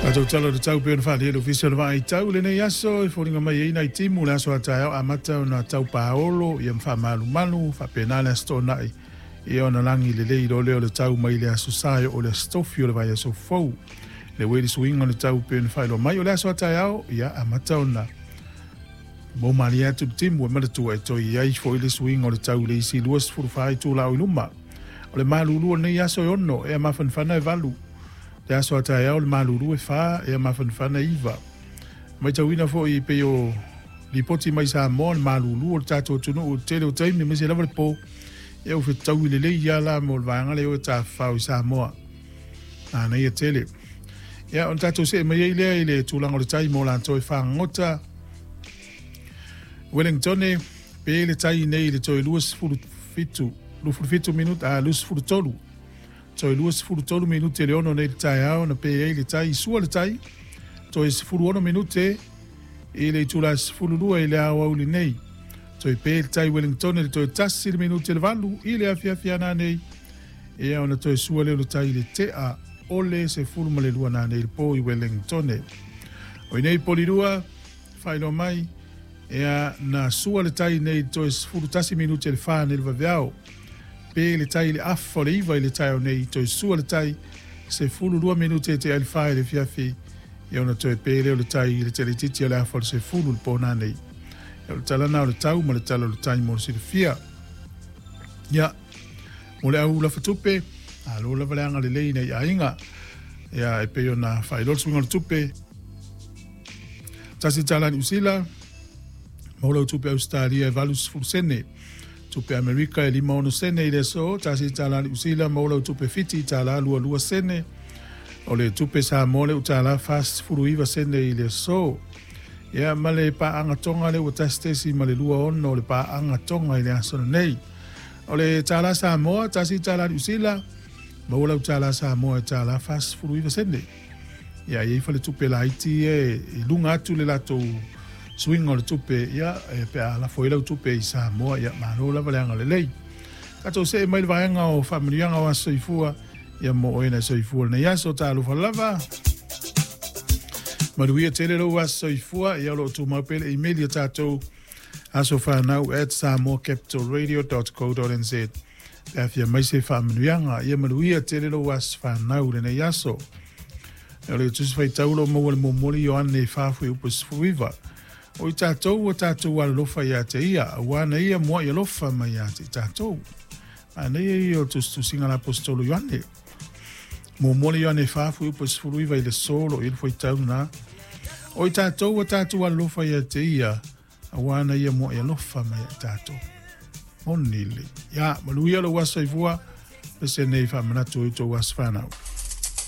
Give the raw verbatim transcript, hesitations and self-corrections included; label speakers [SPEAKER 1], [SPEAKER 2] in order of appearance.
[SPEAKER 1] Tatou tala o le tau pei ona faaalia e le Ofisa o le Vaaitau lenei aso e foliga mai ai nai timu le aso a taeao amata ona tau paolo ia ma faamalumalu faapena le aso Toonai ia ona lagi lelei loa lea o le tau mai le aso Sa e oo i le aso Tofi o le vaiaso fou. Le uē le suiga o le tau pei ona faailoa mai o le aso a taeao ia amata ona maumalie atu le timu e manatua e toe i ai foi le suiga o le tau i le isi luasefulu fa itula o i luma. O le malulu o lenei aso e ono ea mafanafana e valu. Le aso a taeao le malulu e fa ea mafanafana e iva. Matauina foi pei o lipoti mai Samoa le malulu o le tatou atunuu i le tele o taimi aemaise lava le po ia ua fetaui lelei lava la mo le vaega lea o e tafafao i Samoa. Manaia tele. Ia ona tatou see mai ai lea i le tulaga o le tai mo latou e fagogota. Wellingtone, pe le tai nei i le toe luasefulu fitu, luafulu fitu minute, a luasefulu tolu. Toe luasefulu tolu minute le ono nei i le taeao na pe ai le tai, sua le tai, toe sefulu ono minute i le itula sefulu lua i le aoauli nei. Toe pe le tai Wellingtone le toe tasi le minute le valu i le afiafi ana nei. Ia ona toe sua lea o le tai i le tea o le sefulu ma le lua nanei i le po i Wellingtone. O i nei Polirua, faailoa mai, ia na sua le tai nei i le toe sefulu tasi minute le fa nei le vaveao. Pe le tai i le afa o le iva i le taeao nei, toe sua le tai sefulu lua minute e tea ai le fa i le afiafi, ia ona toe pe lea o le tai i le teleititi o le afa o le sefulu le po nanei. Ia o le tala na o le tau ma le tala o le tai mo le silafia. Ia, mo le au lafatupe, malo lava le agalelei nei aiga. Ia, e pei ona faailoa le suiga o le tupe, tasi tala Niu Sila, maua lau tupe Ausetalia e valu sefulu sene. Tupe Amerika e lima ono sene i le aso, tasi tala Niu Sila, maua lau tupe Fiti tala lua lua sene. O le tupe Samoa le utala fa sefulu iva sene i le aso. Ia, ma le paaga Tonga lea ua tasi tesi ma le lua ono o le paaga Tonga i le aso lenei. O le tala Samoa, tasi tala Niu Sila, maua lau tala Samoa e tala fa sefulu iva sene. Ia, e i ai faletupe laiti e i luga atu le latou suiga o le tupe, ia, e pe a lafo ai lau tupe i Samoa, ia, malo lava le agalelei. Tatou see mai le vaega o faamanuiaga o aso soifua, ia mo oe na soifua lenei aso, talofa lava. Manuia tele lou aso soifua, ia o lo o tumau pea le email ia tatou asofanau at samoacapitalradio dot co dot nz. Pe a fia mai se faamanuiaga, ia manuia tele lou aso fanau lenei aso. O le Tusi Faitau o lo o maua le momoli Ioane fa fuaiupu sefulu iva. O i tatou ua tatou alolofa ia te ia, auā na ia muaʻi alofa mai ia te i tatou. Manaia ia o le tusitusiga a le aposetolo Ioane. Muamua le Ioane fa fuaiupu sefulu iva i le aso o lo o i ai le fuaitau lena. O i tatou ua tatou alolofa ia te ia, auā na ia muaʻi alofa mai ia i tatou. Moni le. Ia, manuia lou aso soifua, pese nei faamanatu i tou aso fanau.